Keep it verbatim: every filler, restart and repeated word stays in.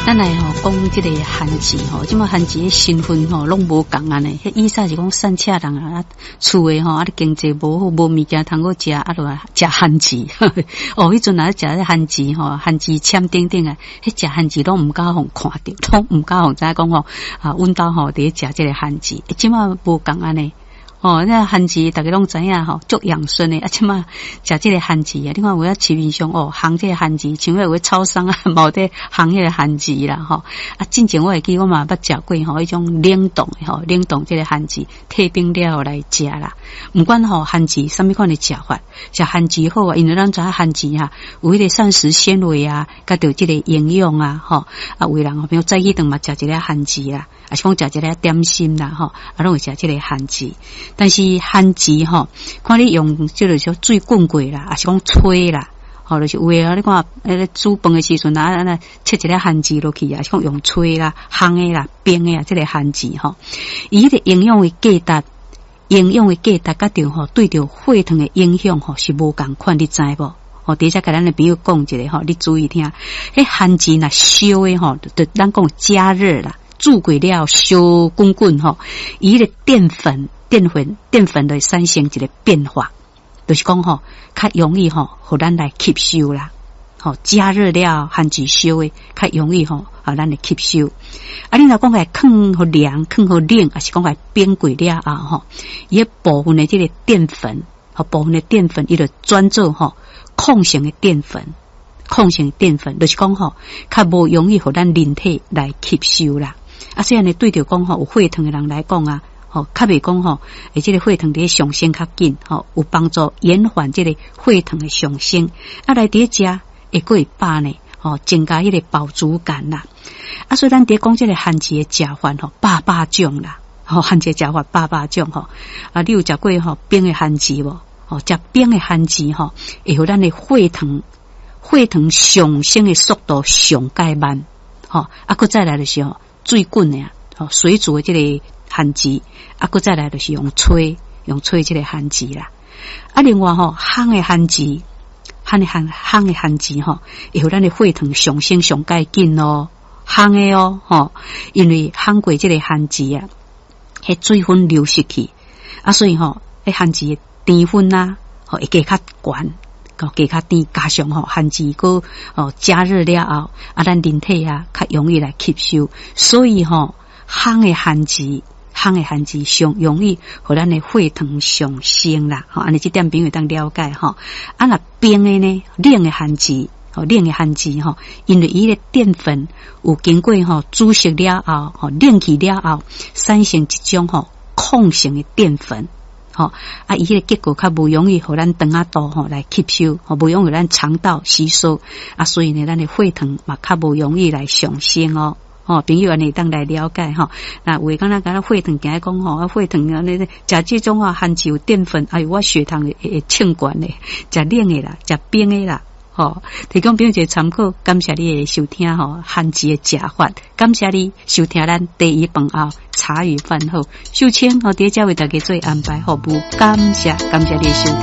咱來吼講這個番薯吼，這馬番薯的身份吼攏無仝按呢。彼以前是講散赤人啊，厝的吼啊，經濟無好，無物件通好食，啊，就食番薯。哦，彼陣若食這番薯吼，番薯籤等等啊，彼食番薯攏毋敢予看著，攏毋敢予知影講吼啊，阮兜吼佇咧食這個番薯。這馬無仝按呢。哦，那番薯逐家攏知影吼，足養生的。啊，這馬食這個番薯啊，你看有影市面上哦，烘這個番薯，像彼有超商啊，嘛有佇烘彼個番薯啦，吼。啊，進前我會記我嘛捌食過吼，彼種冷凍的吼，冷凍這個番薯，退冰了後來食啦。毋管吼番薯啥物款的食法，食番薯好啊，因為咱知影番薯哈，有彼個膳食纖維啊，佮著這個營養啊，吼。啊，有的人吼，比如早起頓嘛食一粒番薯啦，抑是講食一粒點心啦，吼，啊，攏會食這個番薯。但是番薯吼，看你用這個說水滾過啦，抑是講炊啦，吼，就是有的啊，你看，彼个煮飯的時陣啊，按呢切一粒番薯落去啊，是講用炊啦、烘的啦、冰的啊，這個番薯吼，伊彼個營養的價值，營養的價值佮著吼，對著血糖的影響吼是無仝款，你知無？吼，佇遮共咱的朋友講一下吼，你注意聽，彼番薯若燒的吼，就咱講加熱啦，煮過了燒滾滾吼，伊彼個澱粉。澱粉澱粉就會產生一個變化，就是講吼，較容易吼，予咱來吸收啦。吼，加熱了番薯燒的，較容易吼，予咱來吸收。啊，你若講來囥予涼，囥予冷，抑是講來冰過了後吼，伊部分的這個澱粉，吼部分的澱粉，伊就轉做吼抗性的澱粉，抗性澱粉，就是講吼，較無容易予咱人體來吸收啦。啊，所以呢，對著講吼，有血糖的人來講啊。吼，較袂講吼，會這個血糖佇咧上升較緊，吼，有幫助延緩這個血糖的上升。啊，來佇咧食會閣會飽呢，吼，增加彼個飽足感啦。啊，所以咱佇咧講這個番薯的食法吼，百百種啦，吼，番薯食法百百種吼。啊，你有食過吼冰的番薯無？吼，食冰的番薯吼，會予咱的血糖血糖上升的速度上蓋慢，吼。啊，閣再來就是吼水滾的啊，吼，水煮的這個番薯，啊，閣再來就是用炊，用炊這個番薯啦。啊，另外吼，烘的番薯，烘的烘烘的番薯吼，會予咱的血糖上升上蓋緊哦，烘的哦，吼，因為烘過這個番薯啊，彼水分流失去，啊，所以吼，彼番薯的甜分啊，吼會加較懸，加較甜，加上吼番薯閣哦加熱了後，啊，咱人體啊較容易來吸收，所以吼，烘的番薯。烘的番薯上容易予咱的血糖上升啦，吼，按呢這點朋友當了解吼。啊，若冰的呢，冷的番薯，吼，冷的番薯吼，因為伊的澱粉有經過吼煮熟了後，吼冷去了後，產生一種吼抗性的澱粉，吼啊，伊彼個結果較無容易予咱腸仔肚吼來吸收，吼無容易予咱腸道吸收，啊，所以呢，咱的血糖嘛較無容易來上升哦。吼，朋友按呢會當來了解吼。那有的敢若敢若血糖驚講吼，啊血糖按呢食這種啊番薯有澱粉，哎喲我血糖會會衝懸的，食冷的啦，食冰的啦，吼。提供朋友一個參考，感謝你的收聽吼，番薯的食法，感謝你收聽咱茶餘飯後茶餘飯後，秀清吼，佇遮為大家做安排服務，感謝感謝你的收聽。